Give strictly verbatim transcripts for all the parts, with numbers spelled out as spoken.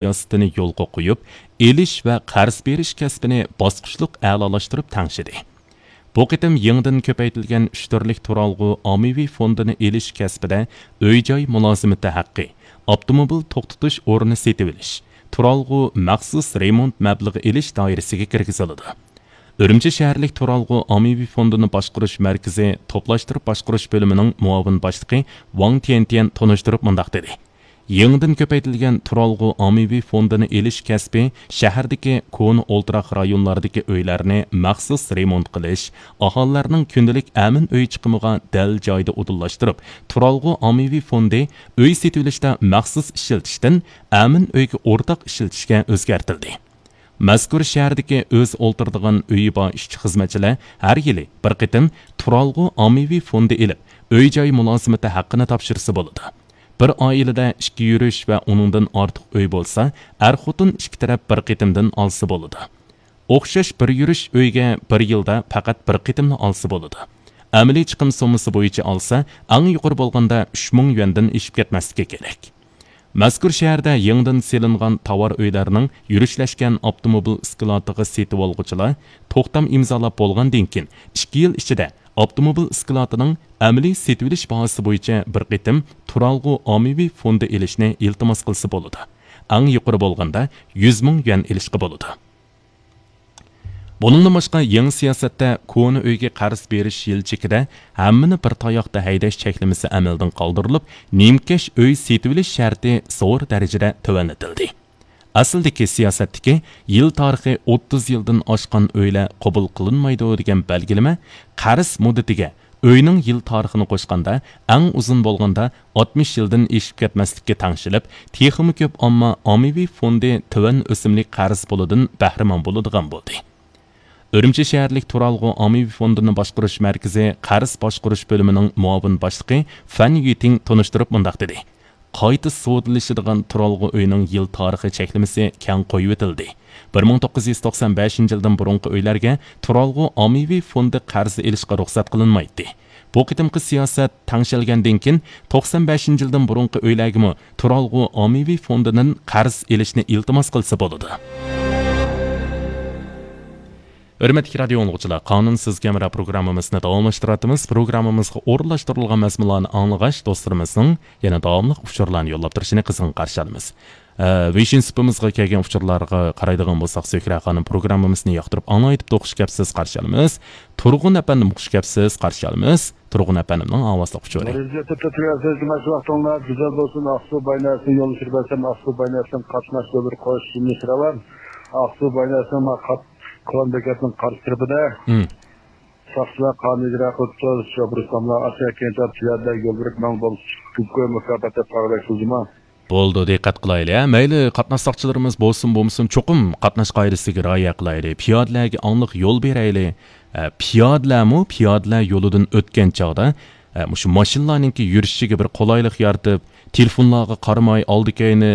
سىياسىتىنى يولغا قويۇپ، ئېلىش ۋە قەرز بېرىش كەسپىنى باسقۇچلۇق ئەلالاشتۇرۇپ تەڭشىدى. بۇ قېتىم يېڭىدىن كۆپەيتىلگەن ئۈچ تۈرلۈك تۇرالغۇ ئاممىۋى فوندىنى ئېلىش كەسپىدە ئۆي-جاي مۇلازىمىتى ھەققى، ئاپتوموبىل توختىتىش ئورنى سېتىۋېلىش، تۇرالغۇ مەخسۇس رېمونت مەبلىغى ئېلىش دائىرىسىگە كىرگۈزۈلىدۇ. ئۈرۈمچى شەھەرلىك تۇرالغۇ ئاممىۋى فوندىنى باشقۇرۇش مەركىزى توپلاشتۇرۇپ باشقۇرۇش بۆلۈمىنىڭ مۇئاۋىن باشلىقى ۋاڭ تيەنتيەن تونۇشتۇرۇپ مۇنداق دېدى: يېڭىدىن كۆپەيتىلگەن تۇرالغۇ ئاممىۋى فوندىنى ئېلىش كەسپى شەھەردىكى كونا ئولتۇراق رايونلاردىكى ئۆيلەرنى مەخسۇس رېمونت قىلىش، ئاھالىلەرنىڭ كۈندىلىك ئەمىن ئۆي چىقىمىغا دەل جايىدا ئۇدۇللاشتۇرۇپ، تۇرالغۇ ئاممىۋى فوندى ئۆي سېتىۋېلىشتا مەخسۇس ئىشلىتىشتىن ئەمىن ئۆيگە ئورتاق ئىشلىتىشكە ئۆزگەرتىلدى. مەزكۇر شەھەردىكى ئۆزى ئولتۇرىدىغان ئۆيى بار ئىشچى-خىزمەتچىلەر ھەر يىلى بىر قېتىم تۇرالغۇ ئاممىۋى فوندى ئېلىپ، ئۆي-جاي مۇلازىمىتى ھەققىنى تاپشۇرسا بولىدۇ. بىر ئائىلىدە ئىككى يۈرۈش ۋە ئۇنىڭدىن ئارتۇق ئۆي بولسا، ئەر-خوتۇن ئىككى تەرەپ بىر قېتىمدىن ئالسا بولىدۇ. ئوخشاش بىر يۈرۈش ئۆيگە بىر يىلدا پەقەت بىر قېتىملا ئالسا بولىدۇ. ئەمەلىي چىقىم سوممىسى بويىچە ئالسا، ئەڭ يۇقىرى بولغاندا ئۈچ مىڭ يۈەندىن ئېشىپ كەتمەسلىكى كېرەك. مەزكۇر شەھەردە يېڭىدىن سېلىنغان تاۋار ئۆيلەرنىڭ يۈرۈشلەشكەن ئاپتوموبىل ئىسكىلاتىغا سېتىۋالغۇچىلار توختام ئىمزالاپ بولغاندىن كېيىن، ئىككى يىل ئىچىدە ئاپتوموبىل ئىسكىلاتىنىڭ ئەمەلىي سېتىۋېلىش باھاسى بويىچە بىر قېتىم تۇرالغۇ ئاممىۋى فوندى ئېلىشنى ئىلتىماس قىلسا بولىدۇ. ئەڭ يۇقىرى بولغاندا يۈز مىڭ يۈەن ئېلىشقا بولىدۇ. بۇنىڭدىن باشقا، يېڭى سىياسەتتە كونا ئۆيگە قەرز بېرىش يىل چېكىدە ھەممىنى بىر تاياقتا ھەيدەش چەكلىمىسى ئەمەلدىن قالدۇرۇلۇپ، نىمكەش ئۆي سېتىۋېلىش شەرتى زور دەرىجىدە تۆۋەنلىتىلدى. ئەسلىدىكى سىياسەتتىكى يىل تارىخى ئوتتۇز يىلدىن ئاشقان ئۆيلەر قوبۇل قىلىنمايدۇ دېگەن بەلگىلىمە قەرز مۇددىتىگە ئۆينىڭ يىل تارىخىنى قوشقاندا، ئەڭ ئۇزۇن بولغاندا ئاتمىش يىلدىن ئېشىپ كەتمەسلىككە تەڭشىلىپ، تېخىمۇ كۆپ ئامما ئاممىۋى فوندى تۆۋەن ئۆسۈملۈك قەرز پۇلىدىن بەھرىمەن بولىدىغان بولدى. ئۈرۈمچى شەھەرلىك تۇرالغۇ ئاممىۋى فوندىنى باشقۇرۇش مەركىزى قەرز باشقۇرۇش بۆلۈمىنىڭ مۇئاۋىن باشلىقى فەن يۈتىڭ تونۇشتۇرۇپ مۇنداق دېدى: قايتا سودىلىشىدىغان تۇرالغۇ ئۆينىڭ يىل تارىخى چەكلىمىسى كەڭ قويۇۋېتىلدى. بىر مىڭ توققۇز يۈز توقسان بەشىنچى يىلدىن بۇرۇنقى ئۆيلەرگە تۇرالغۇ ئاممىۋى فوندى قەرز ئېلىشقا رۇخسەت قىلىنمايتتى. بۇ قېتىمقى سىياسەت تەڭشەلگەندىن كېيىن، توقسان بەشىنچى يىلدىن بۇرۇنقى ئۆيلەرگىمۇ تۇرالغۇ ئاممىۋى فوندىدىن قەرز ئېلىشنى ئىلتىماس قىلسا بولىدۇ. ھۆرمەتلىك رادىيو ئاڭلىغۇچىلار، قانۇن سىزگە ھەمراھ پروگراممىمىزنى داۋاملاشتۇرۇۋاتىمىز. پروگراممىمىزغا ئورۇنلاشتۇرۇلغان مەزمۇنلارنى ئاڭلىغاچ، دوستلىرىمىزنىڭ يەنە داۋاملىق ئۇچۇرلارنى يوللاپ تۇرۇشىنى قىزغىن قارشى ئالىمىز. ئە، ۋېيشىن سۇپىمىزغا كەلگەن ئۇچۇرلارغا قارايدىغان بولساق، زۆھرە خانىم پروگراممىمىزنى ياقتۇرۇپ ئاڭلايدىپتۇ، خۇش كەپسىز، قارشى ئالىمىز. تۇرغۇن ئەپەندىم، خۇش كەپسىز، قارشى ئالىمىز. تۇرغۇن ئەپەندىمنىڭ ئاۋازلىق ئۇچۇرى. نۇرىززە تۆتتە تۈگەلسىز، جۇماشۇ ۋاقتىڭلار گۈزەل بولسۇن. ئاقسۇ باينەسىنى يولدىشىپ بەرسەم، ئاقسۇ باينەسىدىن قاتناش يوللىرى قوش يېنىش راۋان. ئاقسۇ باينەسىنىڭ ما قات-، كونا بېكەتنىڭ قارشى تەرىپىدە. مم. ساقچىلار قانۇن ئىجرا قىلىپتۇ. شوپۇر ئۇستاملار ئاشۇ كەينىدە پىيادىلەر يول بېرىپ ماڭ بولسا، كۆپ مۇكاپات دەپ قارىغۇدەك بولدىما؟ بولدى، دىققەت قىلايلى، ھە. مەيلى، قاتناش ساقچىلىرىمىز بولسۇن، بولمىسۇن، چوقۇم قاتناش قائىدىسىگە رىئايە قىلايلى. پىيادىلەرگە ئاڭلىق يول بېرەيلى. ھە، پىيادىلەرمۇ پىيادىلەر يولىدىن ئۆتكەن چاغدا، ھە، مۇشۇ ماشىنىلارنىڭكى يۈرۈشىگە بىر قولايلىق يارىتىپ، تېلېفونلارغا قارىماي، ئالدى كەينى،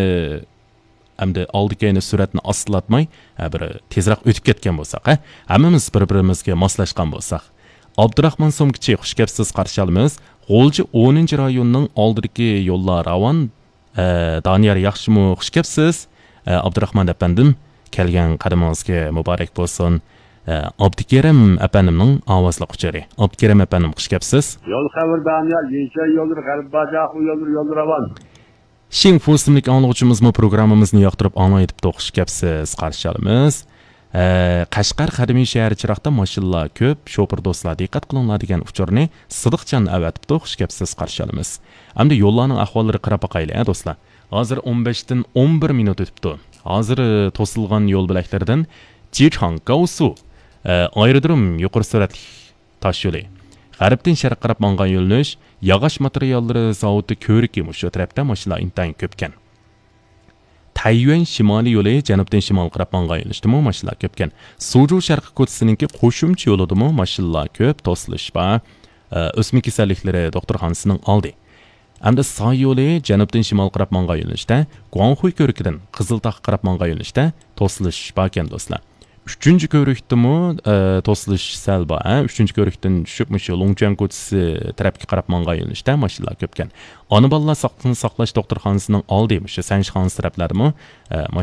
ئەمدى ئالدى كەينى سۈرئەتنى ئاستىلاتماي، ھە، بىر تېزرەك ئۆتۈپ كەتكەن بولساق، ھە، ھەممىمىز بىر-بىرىمىزگە ماسلاشقان بولساق. ئابدۇراخمان سومكىچى، خۇش كەپسىز، قارشى ئالىمىز. غۇلجا ئونىنچى رايوننىڭ ئالدىدىكى يوللار راۋان. ئە، دانىيار ياخشىمۇ؟ خۇش كەپسىز. ئە، ئابدۇراخمان ئەپەندىم، كەلگەن قەدىمىڭىزگە مۇبارەك بولسۇن. ئە، ئابدۇكېرىم ئەپەندىمنىڭ ئاۋازلىق ئۇچۇرى. ئابدۇكېرىم ئەپەندىم، خۇش كەپسىز. يول خەۋىرى دانىيار، يېڭىچەي يوللىرى، غەربىي باجاق يوللىرى، يوللىرى راۋان. شىڭفۇ ئىسىملىك ئاڭلىغۇچىمىزمۇ پروگراممىمىزنى ياقتۇرۇپ ئاڭلايتىپتۇ، خۇش كەپسىز، قارشى ئالىمىز. ئە، قەشقەر قەدىمىي شەھىرى چىراغدا ماشىنىلار كۆپ، شوپۇر دوستلار دىققەت قىلىڭلار دېگەن ئۇچۇرنى سىدىقجان ئەۋەتىپتۇ، خۇش كەپسىز، قارشى ئالىمىز. ئەمدى يوللارنىڭ ئەھۋاللىرىغا قاراپ باقايلى، ھە، دوستلار. ھازىر ئون بەشتىن ئون بىر مىنۇت ئۆتۈپتۇ. ھازىر، ئە، توسۇلغان يول بۆلەكلىرىدىن جىچاڭ گاۋسۇ، ئە، ئايرودروم يۇقىرى سۈرئەتلىك تاش يولى. غەربتىن شەرققە قاراپ ماڭغان يۆنىلىش، ياغاچ ماتېرىياللىرى زاۋۇتى كۆۋرۈكى مۇشۇ تەرەپتە ماشىنىلار ئىنتايىن كۆپكەن. تەييۈەن شىمالىي يولى جەنۇبتىن شىمالغا قاراپ ماڭغان يۆنىلىشتىمۇ ماشىنىلار كۆپكەن. سۇجۇ شەرقىي كوچىسىنىڭكى قوشۇمچە يولىدىمۇ ماشىنىلار كۆپ، توسۇلۇش بار. ئە، ئۆسمە كېسەللىكلىرى دوختۇرخانىسىنىڭ ئالدى. ئەمدى ساي يولى جەنۇبتىن شىمالغا قاراپ ماڭغان يۆنىلىشتە، گۇاڭخۇي كۆۋرۈكىدىن قىزىلتاغقا قاراپ ماڭغان يۆنىلىشتە توسۇلۇش باركەن، دوستلار. ئۈچىنچى كۆۋرۈكتىمۇ، ئە، توسۇلۇش سەل بار، ھە؟ ئۈچىنچى كۆۋرۈكتىن چۈشۈپ، مۇشۇ لوڭچۈەن كوچىسى تەرەپكە قاراپ ماڭغان يۆنىلىشتە ماشىنىلار كۆپكەن. ئانا بالىلار ساقلىقنى ساقلاش دوختۇرخانىسىنىڭ ئالدى، مۇشۇ سەنشى خانىسى تەرەپلەردىمۇ، ئە،